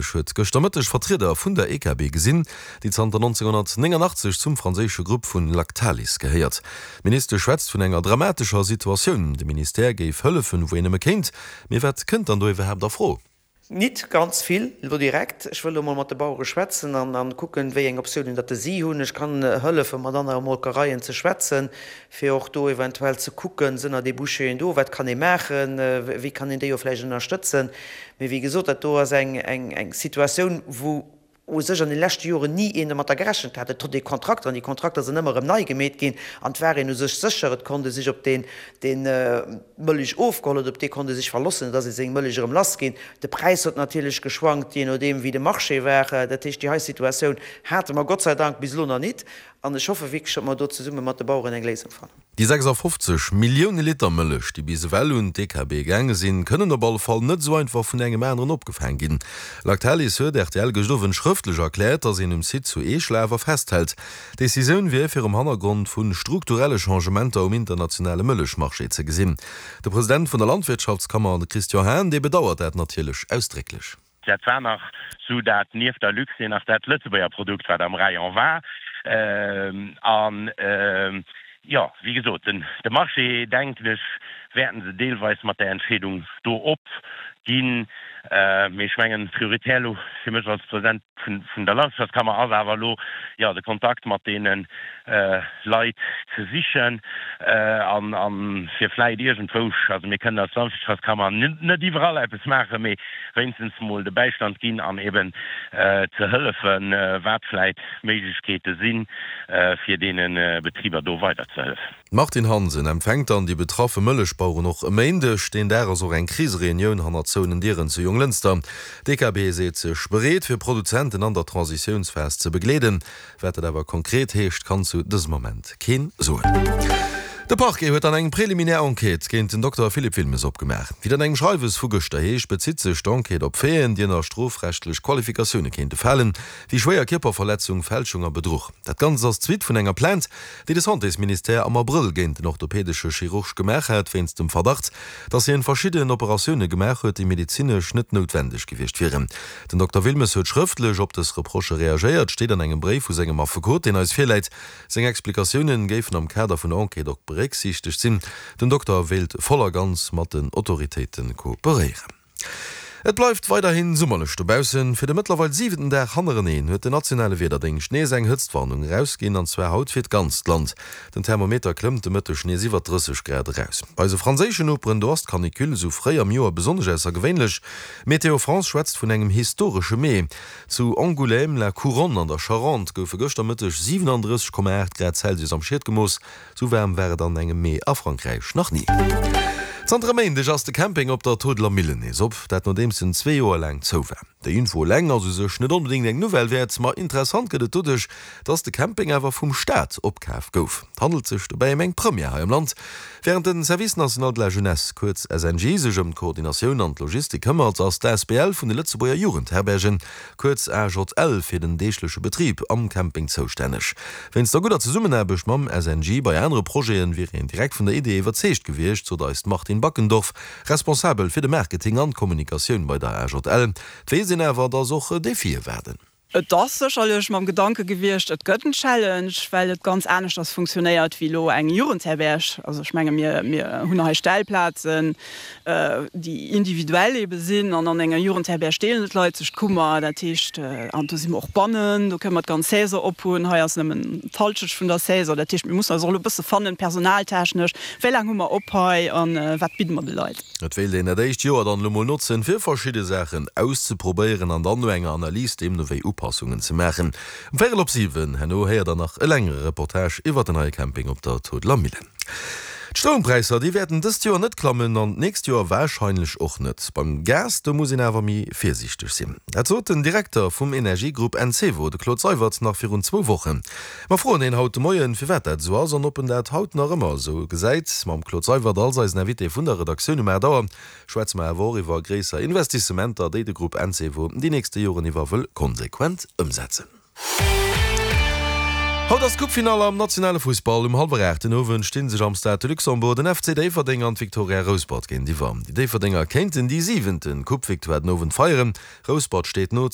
Ministesch huet gëschter Mëtteg Vertrieder vun der EKB gesinn, déi zanter 1989 zum franséische Grupp vun Lactalis gehéiert. D'Ministesch schwätzt vun enger dramatescher Situatioun. De Ministère géif hëllefen, wou een nëmme kéint. Mee wat kënnt dann do iwwerhaapt a Fro? Nit ganz vill elo direkt. Ech wëll elo mol mat de Bauere schwätzen an kucken, wéi eng Optiounen datt si hunn. Ech kann hëllefen, mat anere Molkereien ze schwätzen, fir och do eventuell ze kucken, sënn der Débouchéen do, wat kann ee maachen, wéi kann een déi och vläicht ënnerstëtzen. Mee wéi gesot, dat do ass eng Situatioun, wou u sech an de leschte Joren ni een domatter gerechent hat. Et hott ee Kontrakter an déi Kontrakter sinn ëmmer erëm nei gemeet ginn an et war een u sech sécher, et konnt ee sech op deen, deen d'Mëllech ofgeholl huet, op dee konnt ee sech verlossen, et ass ee seng Mëllech erëm lass ginn. De Präis huet natierlech geschwankt, jee nodeem wéi de Marché war. Dat heescht, déi hei Situatioun hate mer Gott sei Dank bis elo nach nit an ech hoffe wierklech, datt mer do zesumme mat de Baueren eng Léisung fannen. Déi 56 Millioune Liter Mëllech, déi bis ewell un d'EKB gaange sinn, kënnen op alle Fall net esou einfach vun engem aneren opgefaang ginn. Lactalis huet rtl gëscht Owend schrëftlech erkläert, datt een um Site zu Eeschel awer festhält. D'Decisioun wier virum Hannergrond vu strukturelle Changementer um internationale Mëllechmarché ze gesinn. De President vun der Landwirtschaftskammer, de Christian Hahn, dee bedauert dat natierlech ausdrécklech. Dat war nach sou dat nieft der Luxair nach dat Lëtzebuerger Produkt, wat am Rayon war. An, jo, wéi gesot, de Marché, denken ech, wäerten se deelweis mat där Entscheedung do opginn. Mee ech mengen, prioritär elo fir mech als President vun der Landwirtschaftskammer ass awer elo, jo, de Kontakt mat deene Leit ze sichen an fir vläit iergendwou, also mir kënnen als Landwirtschaftskammer net iwwerall eppes maachen, mee wéinstens mol de Bäistand ginn an eben ze hëllefen, wat vläit Méiglechkeete sinn, fir deene Betriber do weider ze hëllefen. D'Martine Hansen empfänkt dann déi betraffe Mëllechbaueren och e Méindeg. Deen Dag ass och eng Krisereunioun hannert zouenen Dieren zu Jonglënster. D'EKB seet sech bereet, fir Produzenten an der Transitiounsphas ze begleeden. Wat dat awer konkret heescht, kann zu dësem Ament keen soen. De Parquet huet dann eng préliminaire Enquête géint den Dokter Philippe Wilmes opgemaach. Wéi et an engem Schreiwes vu gëschter heescht, bezitt sech d'Enquête op Faiten, déi ënner strofrechtlech Qualifikatioune kéinte falen, wéi schwéier Kierperverletzung, Fälschung a Bedruch. Dat Ganzt ass d'Suite vun enger Plainte, déi de Santésministère am Abrëll géint den orthopädesche Chirurg gemaach hat, wéinst dem Verdacht, datt hien verschidden Operatioune gemaach huet, déi medezinesch net noutwendeg gewiescht wieren. Den Dokter Wilmes huet schrëftlech op dës Reprochë reagéiert, steet an engem Bréif vu sengem Affekot, deen eis virläit. Seng Explikatioune géifen am Kader vun der Enquête och berécksiichtegt sinn. Den Dokter wéilt voll a ganz mat den Autoritéite kooperéieren. Et bleift weiderhi summerlech dobaussen. Fir de mëttlerweil siwenten Dag hannereneen huet den nationale Wiederdéngscht nees eng Hëtztwarnung erausginn, an zwar haut fir d'ganzt Land. Den Thermometer klëmmt de Mëtteg nees iwwer 30 Grad eraus. Bei eise franséischen Noperen, do ass d'Canicule esou fréi am Joer besonnesch aussergewéinlech. Météo France schwätzt vun engem historesche Mee. Zu Angoulême-la Couronne an der Charente goufe gëschter Mëtteg 37,8 Grad Celsius am Schiet gemooss. Sou waarm war et an engem Mee a Frankräich nach ni. Zanter e Méindeg ass de Camping op der Todeler Millen nees op, dat nodeems en zwee Joer laang zou war. Déi Info eleng ass u sech net onbedéngt eng Nouvelle wäert, ma interessant gëtt et doduerch, dass de Camping awer vum Staat opkaf gouf. Et handelt sech dobäi ëm eng Première hei am Land. Wärend de Service National de la Jeunesse, kuerz SNJ, sech ëm d'Koordinatioun an d'Logistik këmmert, ass d'ASBL vun de Lëtzebuerger Jugendherbergen, kuerz AJL, fir den deegleche Betrib am Camping zoustänneg. Wéinst der gudder Zesummenaarbecht mam SNJ bei anere Projete wier een direkt vun der Idee iwwerzeegt gewiescht, sot eis d'Martine Backendorf, Responsabel fir de Marketing an d'Kommunikatioun bei der AJL. Et weess een awer, dass och Defie waarden. Et ass sécherlech mam Gedanke gewiescht, et gëtt en Challenge, well et ganz aneschters funktionéiert wéi elo eng Jugendherberg. Also ech menge mir, mir hunn hei Stellplazen, déi individuell ebe sinn an an enger Jugendherberg deelen d'Leit sech d'Kummer. Dat heescht, an do si mer och bannen, do kënne mer d'ganz Saison ophunn. Hei ass nëmmen d'Halschecht vun der Saison. Dat heescht, mir mussen eis och elo e bësse fannen, personaltechnesch, Wéi laang hu mer op hei a wat bidde mer de Leit? Et wéilt een dat éischt Joer dann elo mol notzen, fir verschidde Saachen auszeprobéieren an dann no enger Analys deemno wéi Upassungen ze maachen. Um véierel op 7 herno héiert der nach e längere Reportage iwwert den neie Camping op der Todeler Millen. D'Stroumpräisser, déi wäerten dëst Joer net klammen an d'nächst Joer warscheinlech och net. Beim Gas, do muss een awer méi virsiichteg sinn. Dat sot den Direkter vum Energiegrupp Encevo, de Claude Seywert, nach virun zwou Wochen. Mer froen hien haut de Moien, firwat dat esou ass an ob en dat haut nach ëmmer esou gesäit. Mam Claude Seywert als eisen Invité vun der Redaktioun um 8 Auer schwätze mer awer och iwwer gréisser Investissementer, déi de Grupp Encevo déi nächste Joren iwwer wëll konsequent ëmsetzen. Haut ass d'Coupefinall am nationale Fussball. Um hallwer 8 den Owend sti sech am Stade de Luxembourg den FC Déifferdeng an d'Victoria Rouspert géintiwwer. Déi Déifferdenger kéinten déi siwenten Coupe-Victoire den Owend feieren. Rouspert steet no.